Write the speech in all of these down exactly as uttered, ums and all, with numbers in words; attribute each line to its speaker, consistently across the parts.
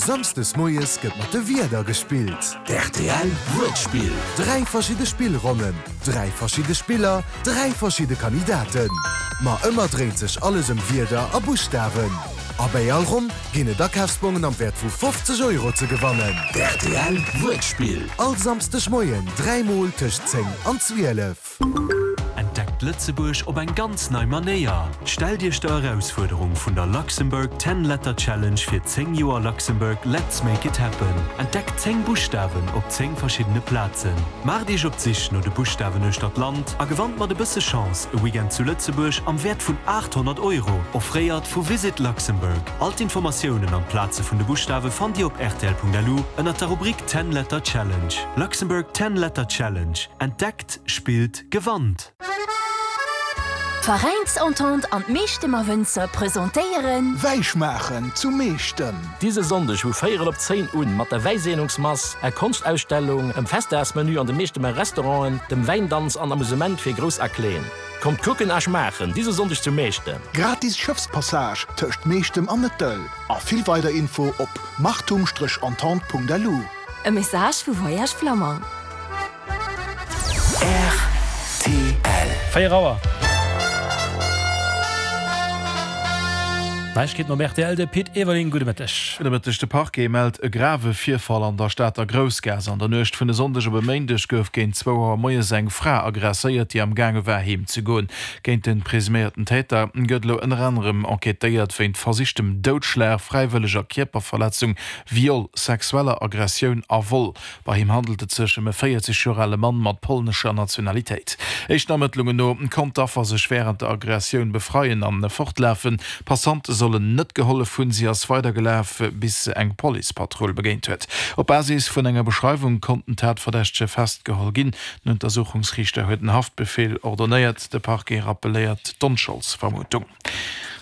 Speaker 1: Samsdes moies gëtt mat de Wierder gespillt.
Speaker 2: D'R T L Wuertspill.
Speaker 1: Dräi verschidde Spillronnen, dräi verschidde Spiller, dräi verschidde Kandidaten. Ma ëmmer dréint sech alles ëm Wierder a Buschtawen. A bei all Ronn ginn et Akafsbongen am Wäert vu fofzeg Euro ze gewannen.
Speaker 2: D'R T L Wuertspill.
Speaker 1: All Samsdeg Moien dräimol tëscht zéng an zwielef.
Speaker 3: Entdeckt Lëtzebuerg op eng ganz nei Manéier. Stellt Iech der Erausfuerderung vun der Luxembourg Ten Letter Challenge fir zéng Joer Luxembourg Let's Make It Happen. Entdeckt zéng Buschtawen op zéng verschiddene Plazen. Maacht Iech op d'Sich no de Buschtawen uechter d'Land a gewannt mat e bësse Chance e Weekend zu Lëtzebuerg am Wäert vun aathonnert Euro, offréiert vu Visit Luxembourg. All d'Informatiounen an d'Plaze vun de Buschtawe fannt Dir op R T L Punkt L U ënner der Rubrik Ten Letter Challenge. Luxembourg Ten Letter Challenge. Entdeckt, spillt, gewannt.
Speaker 4: D'Veräinsentente an d'Meechtemer Wënzer presentéieren
Speaker 5: Wäischmaachen zu Meechtem.
Speaker 6: Dise Sonndeg vu véierel op zéin un mat der Wäiseenungsmass, ä Konschtausstellung, em Festdagsmenü an de Meechtemer Restauranten, dem Wäindanz an Amusement fir Grouss a Kleen. Kommt kucken a schmaachen, dise Sonndeg zu Meechtem.
Speaker 5: Gratis Schëffspassage tëscht Meechtem an Nëttel. A vill weider Info op machtum Strich entente Punkt L U.
Speaker 4: E Message vu Voyage Flamand.
Speaker 2: R T L.
Speaker 7: Véier Auer. Neiegkeeten op R T L, de Pit Everling, gudde Mëtteg.
Speaker 8: Gudde Mëtteg. De Parquet mellt e grave Virfall an der Stater Groussgaass. An der Nuecht vun e Sonndeg op e Méindeg gouf géint zwou Auer moies eng Fra aggresséiert, déi am gaange war heem ze goen. Géint de presuméierten Täter gëtt elo ënner anerem enquêtéiert wéint versichtem Doudschlag, fräiwëlleger Kierperverletzung, Viol, sexueller Aggressioun a Vol. Bei him handelt et sech ëm e véierzeg Joer ale Mann mat polnescher Nationalitéit. Éischten Ermëttlungen no konnt d'Affer sech wärend der Aggressioun befreien an fortlafen. Passante sollen net gehollef hunn, si ass weidergelaf, bis se eng Policepatrull begéint huet. Op Basis vun enger Beschreiwung konnt den Tatverdächtege festgeholl ginn. Den Untersuchungsriichter huet en Haftbefeel ordonéiert, de Parquet rappelléiert d'Onscholdsvermutung.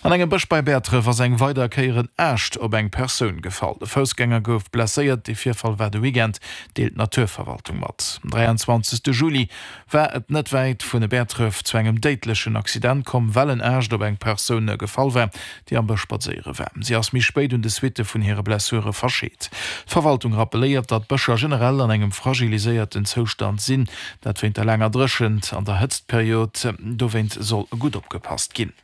Speaker 8: An engem Bësch bei Bäertref ass eng weider Kéier en Aascht op eng Persoun gefall. De Foussgänger gouf blesséiert, de Virfall war de Weekend, deelt d'Naturverwaltung mat. Am dräianzwanzegste Juli war et net wäit vun Bäertref zu engem déidlechen Accident komm, well en Aascht op eng Persoun gefall war, déi am Bësch spadséiere war. Si ass méi spéit un de Suitte vun hire Blessure verscheet. D'Verwaltung rappelléiert, datt d'Bëscher generell an engem fragiliséierten Zoustand sinn, dat wéint der laanger Dréchent an der Hëtztperiod. Dowéint soll gutt opgepasst ginn.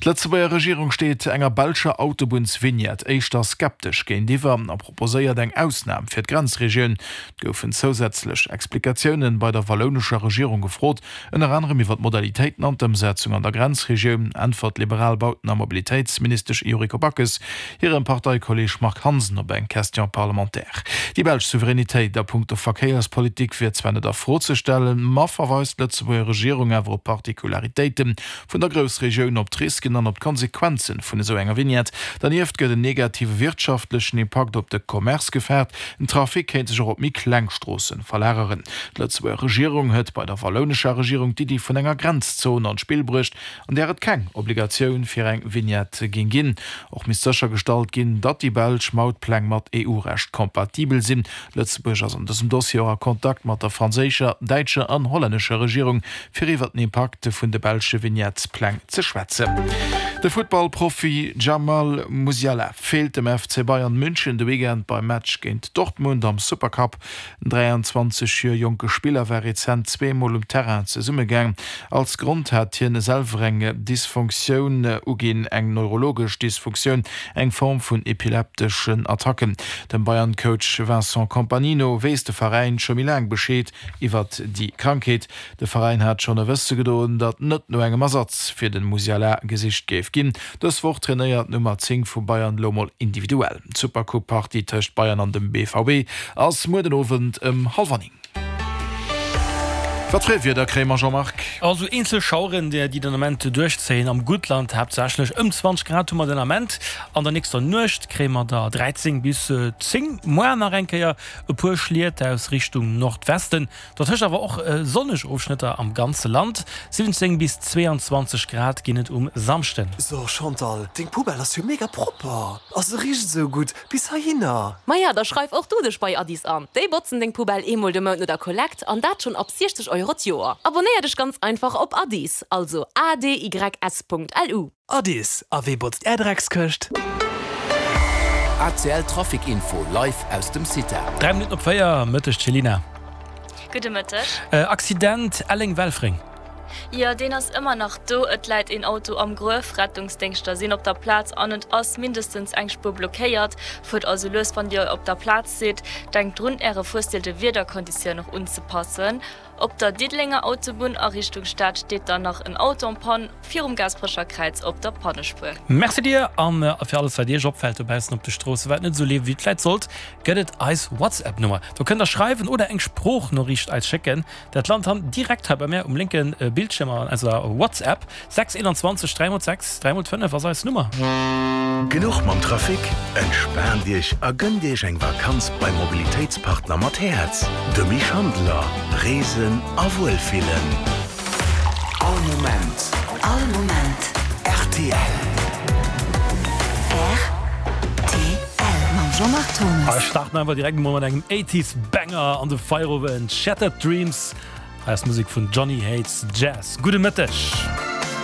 Speaker 8: D'Lëtzebuerger Regierung steet enger belscher Autobunnsvignette éischter skeptesch géintiwwer a proposéiert eng Ausnam fir d'Grenzregioun. Et goufen zousätzlech Explikatiounen bei der wallounescher Regierung gefrot, ënner anerem iwwer d'Modalitéiten an d'Ëmsetzung an der Grenzregioun, äntwert d'liberal Bauten a Mobilitéitsministesch Yuriko Backes hirem Parteikolleeg Marc Hansen op eng Question parlementaire. Déi belsch Souveränitéit a punkto Verkéierspolitik wier zwar net a Fro ze stellen, ma verweist d'Lëtzebuerger Regierung awer op Particularitéite vun der Groussregioun, op d'Risken an op d'Konsequenze vun esou enger Vignette. Dernieft gëtt en negative wirtschaftlechen Impakt op de Commerce gefaart, den Trafic kéint sech och op méi kleng Stroosse verlageren. D'Lëtzebuerger Regierung huet bei der wallounescher Regierung d'Iddi vun enger Grenzzon an d'Spill bruecht, an där et keng Obligatioun fir eng Vignette géing ginn. Och misst séchergestallt ginn, datt déi belsch Mautpläng mat E U-Recht kompatibel sinn. Lëtzebuerg ass an dësem Dossier och a Kontakt mat der franséischer, däitscher an hollännescher Regierung, fir iwwer den Impakt vun de belsche Vignettespläng ze schwätzen. De Futtballprofi Jamal Musiala feelt dem F C Bayern München de Weekend beim Match géint Dortmund am Supercup. Den dräianzwanzeg Joer jonke Spiller war rezent zweemol um Terrain zesummegaang. Als Grond hat hien selwer eng Dysfunktioun uginn, eng neurologesch Dysfunktioun, eng Form vun epilepteschen Attacken. Dem Bayern-Coach Vincent Kompany no weess de Veräin scho méi laang Bescheed iwwer déi Krankheet. De Veräin hat schonn e wësse gedoen, datt net no engem Ersatz fir de Musiala gesicht géif ginn. Dës Woch trainéiert d'Nummer zéng vu Bayern elo mol individuell. D'Supercup-Partie tëscht Bayern an dem B V B ass muer den Owend ëm hallwer néng. Wat fir e Wieder kréie mer, Jean-Marc?
Speaker 7: Also eenzel Schaueren, déi den Ament duerchzéien am Guttland haaptsächlech. Ëm zwanzeg Grad hu mer den Ament. An der nächster Nuecht kréie mer der dräizéng bis zéng. Muer nach eng Kéier e puer Schliet aus Richtung Nordwesten, dertëscht awer och sonneg Ofschnëtter am ganze Land. siwwenzéng bis zweeanzwanzeg Grad ginn et um Samschden.
Speaker 9: So Chantal, deng Poubelle ass jo mega propper a se richt esou gutt bis heihinner.
Speaker 10: Maja, da schreif och du dech bei Adys an. Déi botzen deng Poubelle eemol de Mount no der Kollekt an dat schonn ab siechzeg Euro d'Joer. Abonéier dech ganz einfach op Adys, also A D Y S Punkt L U.
Speaker 9: Adys, a wee botzt är Dreckskëscht?
Speaker 2: A C L Trafic Info live aus dem CITA.
Speaker 7: Dräi Minutten op véier, Mëtteg Céline.
Speaker 11: Gudde Mëtteg.
Speaker 7: Accident Elleng-Welfréng.
Speaker 11: Jo, deen ass ëmmer nach do. Et läit een Auto am Gruef. Rettungsdéngschter sinn op der Plaz an et ass mindestens eng Spuer blockéiert. Fuert also lues, wann Dir op der Plaz sidd. Denkt drun, Äre Fuerstil de Wiederkonditioun och unzepassen. Op der Diddelenger Autobunn a Richtung Stad steet dann nach en Auto en panne virum Gaasperecher Kräiz op der Pannespuer.
Speaker 7: Merci dir an fir alles wat iech opfält dobaussen op de Stroosse wat net esou leeft wéi et vläit sollt, gëtt et eis WhatsApp Nummer. Do kënnt der schreiwen oder eng Sproochnoriicht eis schécken. Dat lant dann direkt hei bei mär um lénke Bildschierm an eiser WhatsApp. sechs einundzwanzeg dräi mol sechs dräi mol fënnef ass eis Nummer.
Speaker 12: Genuch mam Trafic? Entspaant Iech a gënnt Iech eng Vakanz beim Mobilitéitspartner mat Häerz, dem Schandeler. Reesen a Wuelfillen.
Speaker 2: All Moment.
Speaker 4: All Moment.
Speaker 2: R T L.
Speaker 4: R T L mam Jean-Marc Thomas.
Speaker 7: A starten einfach direkt mol mat engem Eighties Banger an de Feierowend, Shattered Dreams. Hei ass Musek vun Johnny Hates Jazz. Gudde Mëtteg.